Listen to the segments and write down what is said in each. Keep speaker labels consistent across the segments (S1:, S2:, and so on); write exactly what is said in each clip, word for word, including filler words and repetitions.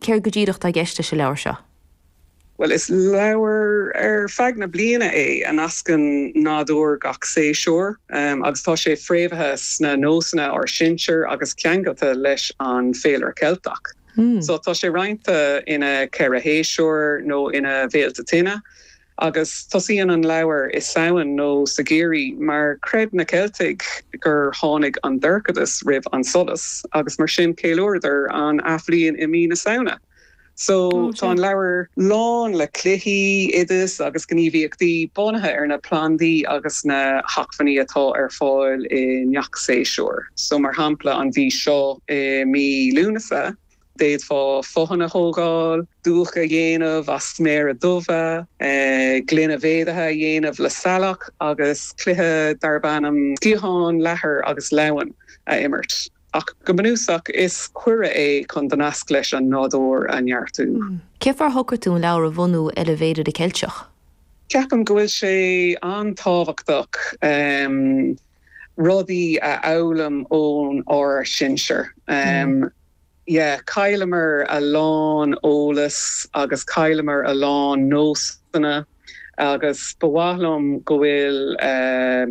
S1: Céard go díreach atá i gceist leis an leabhar seo?
S2: Well is leabhar ar feadh na bliana é a nascann nádúr gach séasúr um, agus tá sé fréamhaithe sna nósanna ár sinsear agus ceangailte leis an féilire Ceilteach.
S1: Hmm.
S2: So tá sé roinnte ina ceithre shéasúr nó ina bhféilte tine. agus tosaíonn an leabhar i Samhain nó sa gheimhreadh mar chreid na Ceiltigh gur tháinig an dorchadas roimh an solas agus mar sin cheiliúradar an athbhliain i mí na Samhna. So
S1: Oh,
S2: tá an leabhar lán le cluichí oidis agus gníomhaíochtaí bunaithe ar na plandaí agus na hacmhainní atá ar fáil i ngach séasúr. So mar shampla an mhí seo i mí Lúnasa, d'fhéadfá botháin a thógáil, dúch a dhéanamh as sméara dubha, eh, gloine mhéadaithe a dhéanamh le saileach agus cluiche darb ainm sciathán leathair agus leamhan a imirt. Ach go bunúsach is cuireadh é chun do nasc leis an nádúr a neartú.
S1: Cén fáth ar shocraigh tú an leabhar a bhunú ar an bhféilire Ceilteach?
S2: Ceapaim go bhfuil sé an-tábhachtach um, rudaí a fhoghlaim ón ár sinsear. Um, mm. Yeah, chailleamar a lán eolas agus chailleamar a lán nósanna agus ba mhaith liom go bhfuil uh,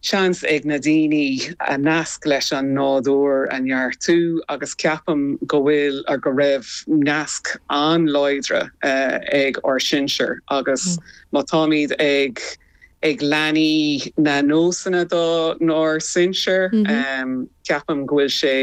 S2: seans ag na daoine a nasc leis an nádúr a neartú agus ceapaim go bhfuil ar go raibh nasc an-láidir uh, ag ár sinsear agus mm. má táimid ag ag leanaí na nósanna do nár sinsear
S1: mm -hmm.
S2: um, ceapaim go bhfuil sé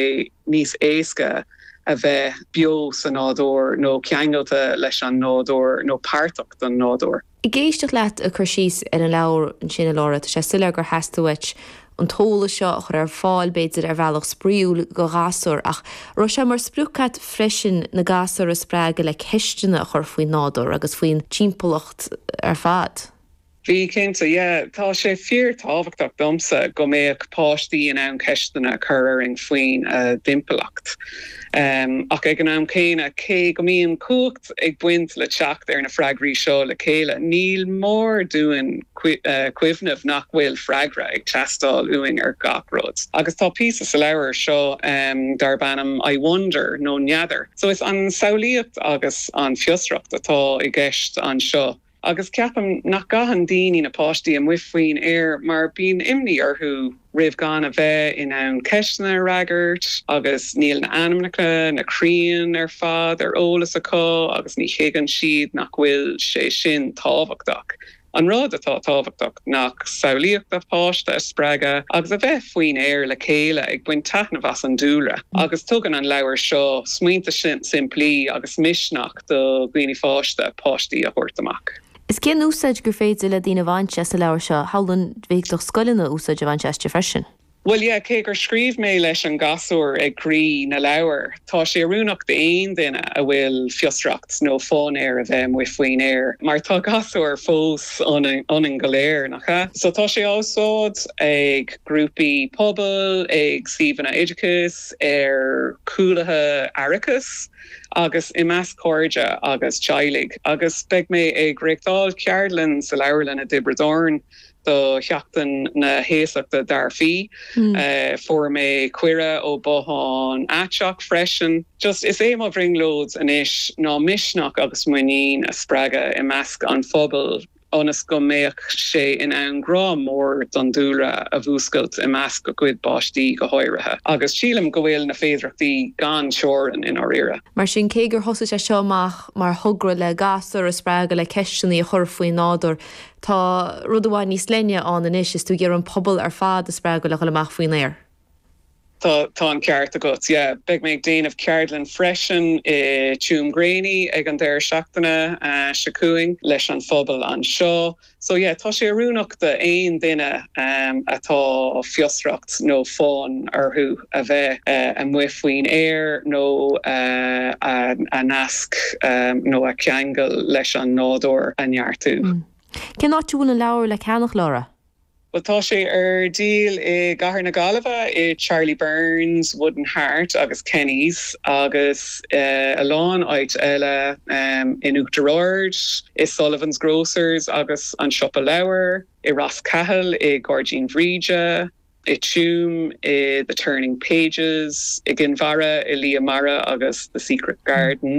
S2: níos éasca a bheith beo sa nádúr nó ceangailte leis an nádúr nó páirteach den nádúr.
S1: Ag éisteacht leat ag cur síos ar an leabhar ansin a Laura, tá sé soiléir gur theastaigh uait an t-eolas seo a chur ar fáil b'fhéidir ar bhealach spraíúil do ghasúir ach raibh sé mar sprioc agat freisin na gasúir a spreagadh le ceisteanna a chur faoin nádúr agus faoin timpeallacht ar fad.
S2: Bhí cinnte yeah, tá sé fíorthábhachtach domsa go mbeadh páistí in ann ceisteanna chur orainn faoin uh, dtimpeallacht. Um, ach ag an am céanna cé go mbíonn cumhacht ag baint le teacht ar na freagraí seo le chéile. Ní mór dúinn uh, cuimhneamh nach bhfuil freagra ag teastáil uainn ar gach rud. Agus tá píosa sa leabhar seo um, darb ainm I wonder nó n'fheadar. So is an samhlaíocht agus an fiosracht atá i gceist anseo. Agus ceapaim nach gcaitheann daoine na páistí amuigh faoin aer mar bíonn imní orthu roimh gan a bheith in ann ceisteanna a fhreagairt agus níl na hainmneacha na crainn ar fad ar eolas acu agus ní thuigeann siad nach bhfuil sé sin tábhachtach. An rud atá tábhachtach ná samhlaíocht an pháiste a spreagadh agus a bheith faoin aer le chéile ag baint taitneamh as an dúlra. Agus tugann an leabhar seo smaointe sin simplí agus misneach do dhaoine fásta páistí a thabhairt amach.
S1: Is cén úsáid gur féidir le daoine a bhaint as an leabhar seo shamhlóinn b'fhéidir scoileanna úsáid a bhaint aisti freisin.
S2: Well yeah, cé gur scríobh mé leis an gasúr ag croí na leabhar. Tá sé oiriúnach d'aon duine a bhfuil fiosracht nó fonn air a bheith amuigh faoin aer, mar tá gasúr fós ionainn go léir nach ea. So tá sé á úsáid ag grúpaí pobail, ag suíomhanna oideachais, ar chúlaithe aireachais, agus i measc cairde agus teaghlaigh, agus beidh mé ag reáchtáil ceardlann sa leabharlann i dTiobraid Árann do Sheachtain na hAosachta Dearfaí.
S1: Mm.
S2: Uh, fuair mé cuireadh ó Bothán Aiteach freisin. Just is é mo bhrionglóid anois ná misneach agus muinín a spreagadh i measc an phobail ionas go mbeadh sé in ann grá mór don dúlra a mhúscailt i measc a gcuid páistí go háirithe. Agus sílim go bhfuil na féidearthachtaí gan teorainn i ndáiríre.
S1: Mar sin cé gur thosaigh sé seo amach mar thogra le gasúir a spreagadh le ceisteanna a chur faoin nádúr. Tá rud amháin níos leithne ann anois is tú ag iarraidh an pobal ar fad a spreagadh le dhul amach faoin aer.
S2: Tá tá an ceart agat yeah. Beidh mé ag déanamh ceardlann freisin i Tuamgraney ag an deireadh seachtaine uh, seo chugainn leis an phobal anseo. So yeah, tá sé oiriúnach d'aon duine um, atá fiosracht nó fonn orthu a bheith uh, amuigh faoin aer nó uh, a, a nasc um, nó a ceangal leis an nádúr a neartú.
S1: Mm. Cén áit a bhfuil an leabhar le ceannach Laura?
S2: Well tá sé ar díol i gCathair na Gaillimhe i Charlie Burns, Wooden Heart agus Kenny's agus uh, a lán áit eile um, in Uachtar Ard, i Sullivan's Grocers agus an Siopa Leabhar, i Ros Cathail i Gairdín Bhríde, i Tuam i The Turning Pages, i gCill Dara i Lia Mara agus The Secret Garden.